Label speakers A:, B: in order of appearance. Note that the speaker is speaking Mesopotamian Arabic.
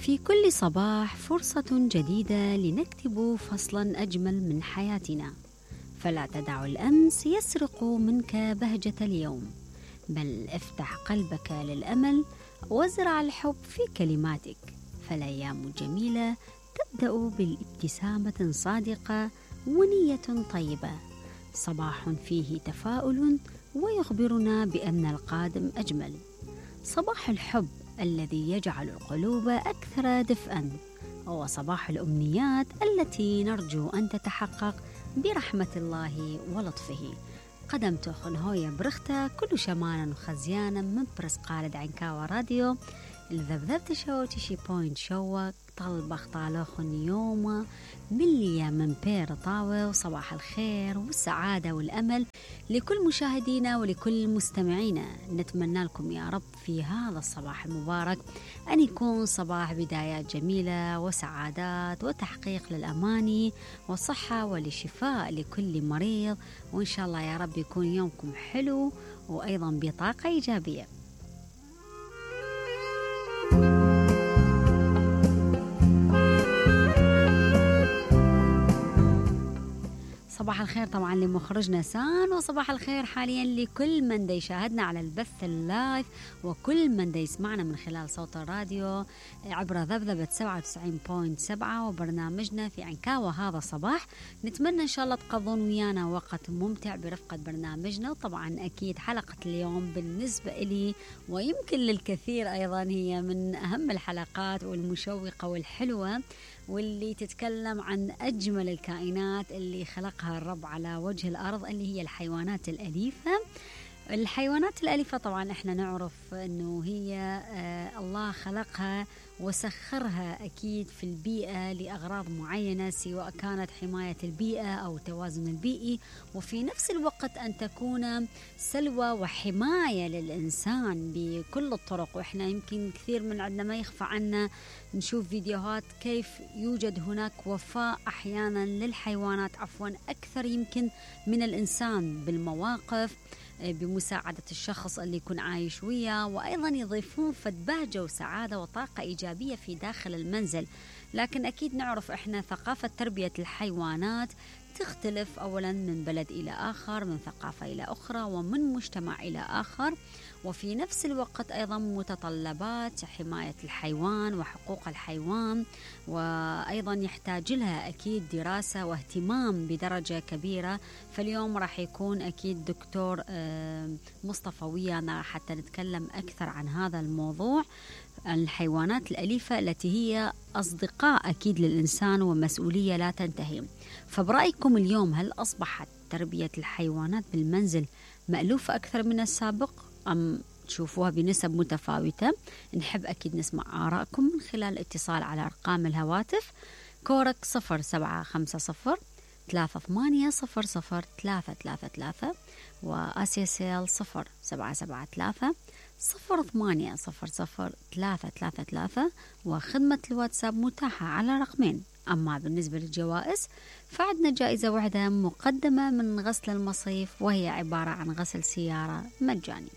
A: في كل صباح فرصة جديدة لنكتب فصلا أجمل من حياتنا، فلا تدع الأمس يسرق منك بهجة اليوم، بل افتح قلبك للأمل وازرع الحب في كلماتك، فالأيام جميلة تبدأ بالابتسامة صادقة ونية طيبة، صباح فيه تفاؤل ويخبرنا بأن القادم أجمل، صباح الحب الذي يجعل القلوب أكثر دفئا، وصباح الأمنيات التي نرجو أن تتحقق برحمة الله ولطفه. قدمت خنهوية برخته كل شمانا وخزيانا من برس قالد عنكاوة راديو الذبذبت شوتشي بوينت شوك طلبخ طالوخن يوم مليا من بير طاوة. وصباح الخير والسعادة والأمل لكل مشاهدينا ولكل مستمعينا، نتمنى لكم يا رب في هذا الصباح المبارك أن يكون صباح بدايات جميلة وسعادات وتحقيق للأماني والصحة والشفاء لكل مريض، وإن شاء الله يا رب يكون يومكم حلو وأيضا بطاقة إيجابية. صباح الخير طبعا لمخرجنا سان، وصباح الخير حاليا لكل من دا يشاهدنا على البث اللايف وكل من دا يسمعنا من خلال صوت الراديو عبر ذبذبة 97.7 وبرنامجنا في عنكاوة هذا الصباح. نتمنى إن شاء الله تقضون ويانا وقت ممتع برفقة برنامجنا، وطبعا أكيد حلقة اليوم بالنسبة لي ويمكن للكثير أيضا هي من أهم الحلقات والمشوقة والحلوة، واللي تتكلم عن أجمل الكائنات اللي خلقها الرب على وجه الأرض، اللي هي الحيوانات الأليفة. الحيوانات الأليفة طبعا احنا نعرف أنه هي الله خلقها وسخرها أكيد في البيئة لأغراض معينة، سواء كانت حماية البيئة أو التوازن البيئي، وفي نفس الوقت أن تكون سلوى وحماية للإنسان بكل الطرق. وإحنا يمكن كثير من عندنا ما يخفى عنا نشوف فيديوهات كيف يوجد هناك وفاء أحيانا للحيوانات أكثر يمكن من الإنسان بالمواقف، بمساعدة الشخص اللي يكون عايش وياه، وأيضا يضيفون بهجة وسعادة وطاقة إيجابية في داخل المنزل. لكن أكيد نعرف إحنا ثقافة تربية الحيوانات تختلف أولا من بلد إلى آخر، من ثقافة إلى أخرى، ومن مجتمع إلى آخر، وفي نفس الوقت أيضا متطلبات حماية الحيوان وحقوق الحيوان وأيضا يحتاج لها أكيد دراسة واهتمام بدرجة كبيرة. فاليوم راح يكون أكيد دكتور مصطفى ويانا حتى نتكلم أكثر عن هذا الموضوع، الحيوانات الأليفة التي هي أصدقاء أكيد للإنسان ومسؤولية لا تنتهي. فبرأيكم اليوم هل أصبحت تربية الحيوانات بالمنزل مألوفة أكثر من السابق أم تشوفوها بنسب متفاوتة؟ نحب أكيد نسمع آراءكم من خلال الاتصال على أرقام الهواتف كورك 0750 3800 وآسيسيل 0773 0800 وخدمة الواتساب متاحة على رقمين. أما بالنسبة للجوائز فعندنا جائزة واحدة مقدمة من غسل المصيف، وهي عبارة عن غسل سيارة مجاني.